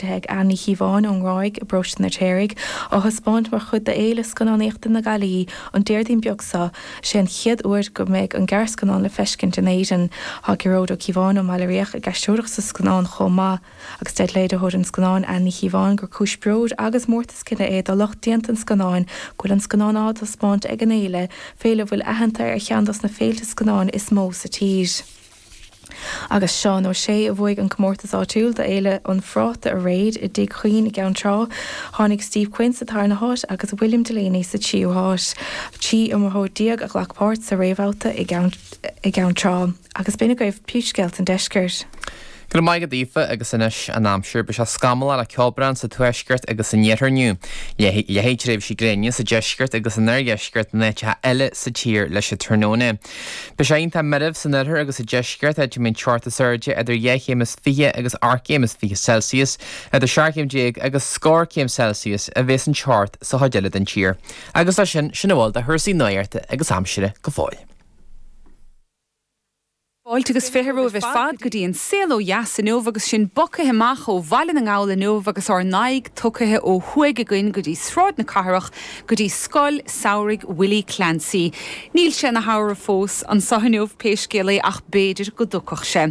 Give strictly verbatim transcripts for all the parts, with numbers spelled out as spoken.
ag Anne Ní Chíobháin ón nGráig i bparóiste an Fheirtéaraigh, á thaispeáint mar chuid d'Fhéile Scannánaíochta na Gaillimhe an Déardaoin beag seo. Sé an chéad uair go mbeidh an gearrscannán le feiscint in Éirinn. Tá Gearóid Ó Cíobháin ó mBaile Riach ag aisteoireacht sa scannán chomh maith. Agus deir léiritheoir an scannáin Anne Ní Chíobháin gur cúis bróid agus mórtas cine é do lucht déanta an scannáin go bhfuil an scannán á thaispeáint ag an fhéile, féile a bhfuil aitheanta ar cheann dos na féilte scannáin is mó sa tír. Agus Seán Ó Sé a bhuaigh an comórtas áitiúil d'Fhéile an Phráta aréir i dTigh Chuinn i gCeann Trá. Tháinig Steve Quinn sa tarna háit agus William Delaney sa tríú háit. Trí iomaitheoir déag a ghlac páirt sa réamhbhabhta i gCeann Trá. Agus b'in agaibh príomhscéalta an deiscirt. Go raibh maith agat Aoife agus anois an aimsir. Beidh sé scamallach le ceobhrán sa tuaisceart agus san iarthar inniu. Leathfaidh tréimhsí gréine sa deisceart agus san oirdheisceart in áiteacha eile sa tír leis an tráthnóna. Beidh sé iontach meirbh san oirthear agus sa deisceart, áit a mbeidh an teocht is airde idir dhá chéim is fiche agus ocht gcéim is fiche Celsius, idir seacht gcéim déag agus scór céim Celsius a bheas an teocht sa chuid eile den tír. Agus leis sin, sin a bhfuil de chúrsaí nuachta agus aimsire go fóill. Fáilte agus fiche romhaibh ar fad go dtí an saol ó dheas inniu agus sinn bogtha amach ó Bhaile na nGall inniu agus ár n-aghaidh tugtha ó thuaidh againn go dtí Sráid na Cathrach go dtí Scoil Samhraidh Willie Clancy. Níl sé ina shamhradh fós anseo inniu pé scéal é ach b'fhéidir go dtiocfadh sé.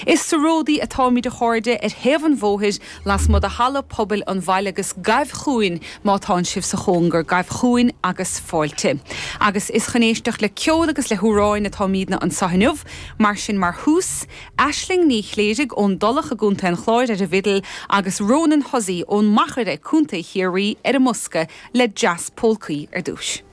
Is sa Ródaí atáimid a chairde ar thaobh an bhóthair lasmuigh de halla pobail an bhaile agus gabh chugainn má tánn sibh sa chóngar, gabh chugainn agus fáilte. Agus is chun éisteacht le ceol agus le hamhráin atáimidne anseo inniu, mar sin mar thús, Aisling Ní Chléirigh ón dTulach i gContae an Chláir ar an bhfidil agus Ronan Hussey ón Machaire, Contae Chiarraí ar an mbosca le Jazz Polcaí ar dtús.